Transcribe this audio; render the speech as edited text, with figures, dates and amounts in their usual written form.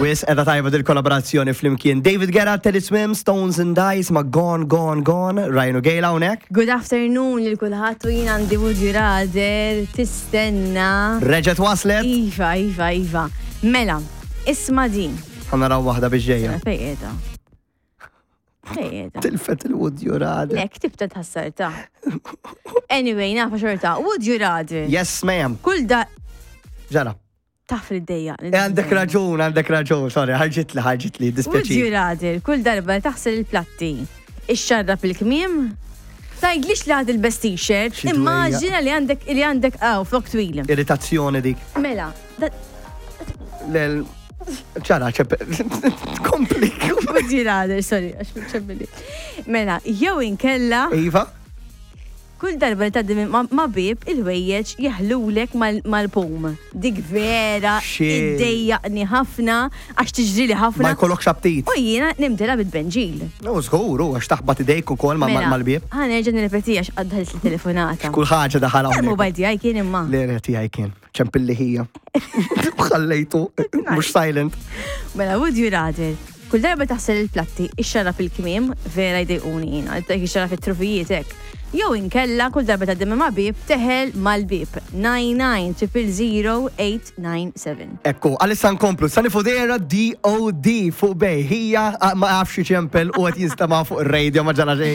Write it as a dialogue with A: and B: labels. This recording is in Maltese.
A: Wis edha tajba dil-kollaborazzjoni flimkien. David Guetta, Teddy Swim, Stones and Dice ma' Gone, Gone, Gone, Ryan u Gail hawnhekk.
B: Good afternoon lil kulħadd u jien għandi would you rather tistenna.
A: Reġgħet waslet.
B: Iva, iva, iva. Mela, isma' din.
A: Ħa naraw waħda biex ġejja.
B: Fej qiegħda? Fej qiegħda?
A: Tilfet il-would you rather.
B: Le, ktibta tħassarta. Anyway, nafa xorta. Would you rather?
A: Yes, ma'am.
B: Kull da
A: Ġara.
B: Taf li d-dejja.
A: Eh, għandek raġun, għandek raġun, sorry, ħarġitli, ħarġitli,
B: Would you
A: dispjaċi.
B: rather kull darba li taħsel il-platti, ixxarrab il-kmiem? Tgħidlix li ħad il-best t-shirt,
A: Xi dwejja.
B: immaġina li għandek li għandek għaw flok twil.
A: Irritazzjoni dik.
B: Mela, da-
A: Lel, ċara, ċep. Kompli.
B: would you rather, sorry, għax ċebbili. Mela, jew inkella
A: Iva?
B: Kull darba li tgħaddi minn ma' bieb, il-ħwejjeġ jeħlulek mal-pum. Dik vera iddejjaqni ħafna għax tiġrili ħafna.
A: Ma jkollokx aptit.
B: U jiena nimtela bit-tbenġil.
A: U żgur, u għax taħbat idejk ukoll
B: mela,
A: mal-bieb.
B: Ħa nerġa' nirrepeti għax għadħalt il-telefonata.
A: Kull ħaġa daħal hawnhekk.
B: Il-mobile tiegħi kien imma.
A: Le, le, tiegħi kien. Ċempilli ħija. Ħallejtu, mhux silent.
B: Mela, would you rather? Kull darba taħsel il-platti, ixxarrab il-kmiem, vera jdejquni jiena, dik ixxarrab it-trufijiet hekk. Jew inkella kull darba tgħaddi minn ma' bieb teħel mal-bieb. 99000897.
A: Ekku, għalissa nkomplu. Sani Fudera DOD fuq bej. Hija ma jafx iċempel u qed jinstema' fuq ir-radio ma ġara xejn.